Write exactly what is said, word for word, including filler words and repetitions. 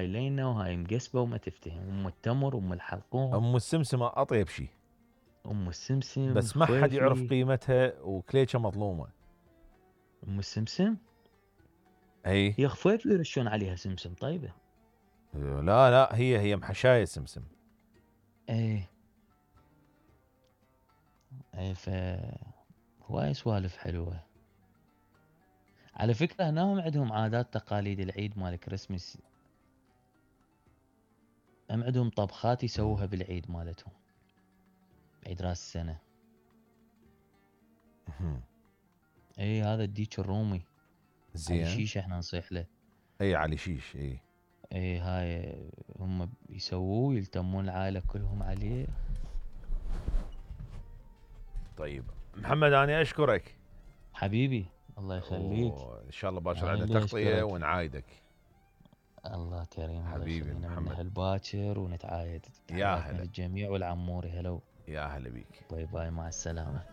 هاي لينة وهاي مقسبة وما تفتهم، ام التمر ام الحلقوم ام السمسمة اطيب شيء، ام السمسم بس ما حد يعرف خويفي. قيمتها وكليشة مظلومة. ام السمسم اي هي خفيف يرشون عليها سمسم طيبة. لا لا هي هي محشاية سمسم. ايه ايه ف هواي سوالف حلوة. على فكرة هناهم عندهم عادات تقاليد العيد مال كريسمس، هم عندهم طبخات يسووها بالعيد مالتهم، عيد راس السنة. اي هذا الديك الرومي علي زين. شيش احنا نصيح له. اي علي شيش اي. اي هاي هم يسووه يلتمون العائلة كلهم عليه. طيب محمد انا اشكرك حبيبي الله يخليك. ان شاء الله باكر أنا عندنا اللي تغطية أشكرك. ونعايدك. الله كريم الله حبيبي يخلينا محمد. من الباكر ونتعايد. يا تحياتنا هلا. للجميع والعموري هلو. يا هلا بيك. باي باي مع السلامة.